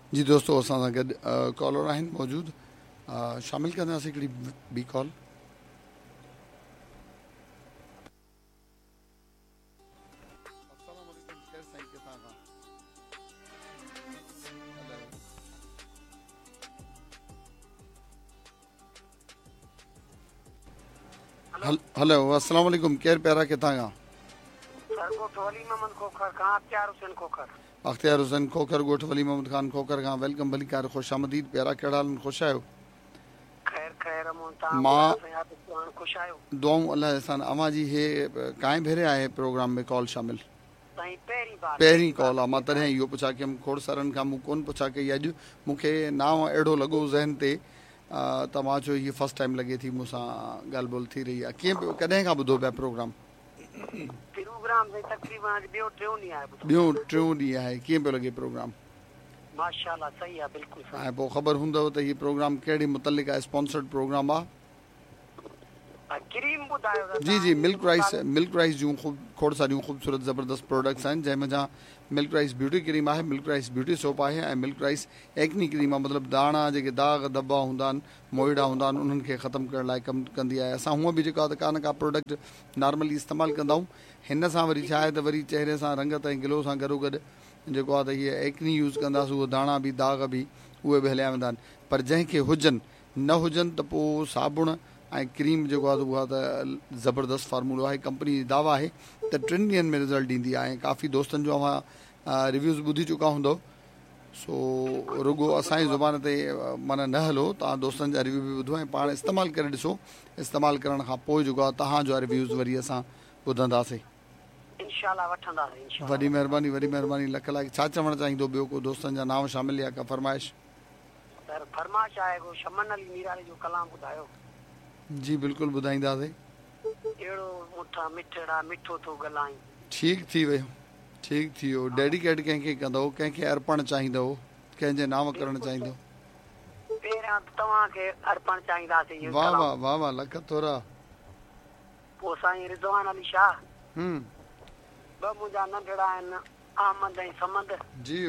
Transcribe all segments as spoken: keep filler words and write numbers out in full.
जी दोस्तो असां सां गॾु कॉलर आहिनि मौजूदु, शामिल कंदासीं हिकिड़ी ॿी कॉल। हेलो अस्सलाम वालेकुम, केरु प्यारा किथां खां? सर ॻोठ वली मोहम्मद खोखर खां, अख्तियार हुसैन खोखर। अख्तियार हुसैन खोखर, ॻोठ वली मोहम्मद खान खोखर खां। Welcome, भलीकार, ख़ुशि आमदीद। प्यारा कहिड़ा हाल, ख़ुशि आहियो? ख़ैर ख़ैर, मां ख़ुशि आहियो? दुआऊं अलाह सां। अव्हां जी हे कांइ भेरे आहे प्रोग्राम में कॉल शामिल? पहिरीं कॉल आहे। मां तॾहिं इहो पुछा कयमि, खोड़ सारनि खां मूं कोन पुछा कई। अॼु मूंखे नांव अहिड़ो लॻो ज़हन ते त मां चयो हीअ फर्स्ट टाइम लॻे थी मूंसां ॻाल्हि ॿोल थी रही आहे। कीअं पियो, कॾहिं खां ॿुधो पिया प्रोग्राम? प्रोग्राम तक़रीबन ॿियो टियों ॾींहुं आहे। ॿियो टियों ॾींहुं आहे। कीअं पियो लॻे प्रोग्राम? माशाअल्लाह सही आहे, बिल्कुलु। ऐं पोइ ख़बर हूंदव त हीउ प्रोग्राम कहिड़े मुतलिक़ आहे, स्पॉन्सर्ड प्रोग्राम आहे? क्रीम ॿुधायो। जी जी, मिल्क राइस, मिल्क राइस जूं ख़ूब खोड़ सारियूं ख़ूबसूरत ज़बरदस्त प्रोडक्ट्स आहिनि, जंहिं मंझां मिल्क राइस ब्यूटी क्रीम आहे, मिल्क राइस ब्यूटी सोप आहे ऐं मिल्क राइस एक्नी क्रीम आहे। मतिलबु दाणा जेके दाग़ धब्बा हूंदा आहिनि, मोइड़ा हूंदा आहिनि, उन्हनि खे ख़तमु करण लाइ कमु कंदी आहे। असां हूअं बि जेको आहे त का न का प्रोडक्ट नॉर्मली इस्तेमालु कंदा आहियूं। हिन सां वरी छा आहे त वरी चेहरे सां रंगत ऐं ग्लो सां गॾोगॾु जेको आहे त हीअ एक्नी यूज़ कंदासीं, उहो दाणा बि दाग़ बि उहे बि हलिया वेंदा आहिनि। पर जंहिंखे हुजनि न हुजनि त पोइ साबुण ऐं क्रीम जेको आहे उहा त ज़बरदस्त फार्मूलो आहे। कंपनी जी दावा आहे त टिनि ॾींहंनि में रिज़ल्ट ॾींदी आहे। ऐं काफ़ी दोस्तनि जो अव्हां रिव्यूज़ ॿुधी चुका हूंदव। सो रुगो असांजी ज़ुबान ते माना न हलो, तव्हां दोस्तनि जा रिव्यू बि ॿुधो ऐं पाण इस्तेमालु करे ॾिसो। इस्तेमालु करण खां पोइ जेको आहे तव्हांजो रिव्यूज़ वरी असां ॿुधंदासीं। इंशाअल्लाह वठंदासीं। वॾी महिरबानी, वॾी महिरबानी, लख लाइक़। छा चवणु चाहींदो ॿियो को दोस्तनि जा नांव शामिल या का फरमाइश? सर फरमाइश आहे को शमन अली मीरानी जो कलाम ॿुधायो। जी बिल्कुलु ॿुधाईंदासीं। अहिड़ो मुठा मिठड़ा मिठो थो ॻाल्हाई। ठीकु थी वियो, ठीकु थी वियो। डेडिकेट कंहिंखे कंदव, कंहिंखे अर्पण चाहींदव, कंहिंजे नांव करणु चाहींदव? पहिरियां तव्हांखे अर्पण चाहींदासीं। वाह वाह वाह वाह, लख थोरा। पोइ साईं रिज़वान अली शाह, हम्म, ॿ मुंहिंजा नंढड़ा आहिनि, अहमद ऐं समंद। जी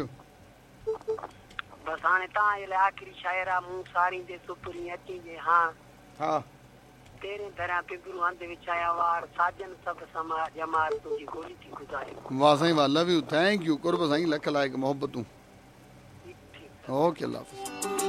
बसि हाणे तव्हांजे लाइ आख़िरी शाइर आहे, मूं सारींदे सुपरी अची जे हाण, हा तेरे दरिया पिबरू हंध विछाया वार, साजन सभ समा जमार तुंहिंजी गोली थी गुज़ारे। वाह साईं वाह, लव you, thank you, क़ुर्ब साईं, लख लाइक़ मोहब्बतूं। ओके, अल्लाह हाफ़िज़।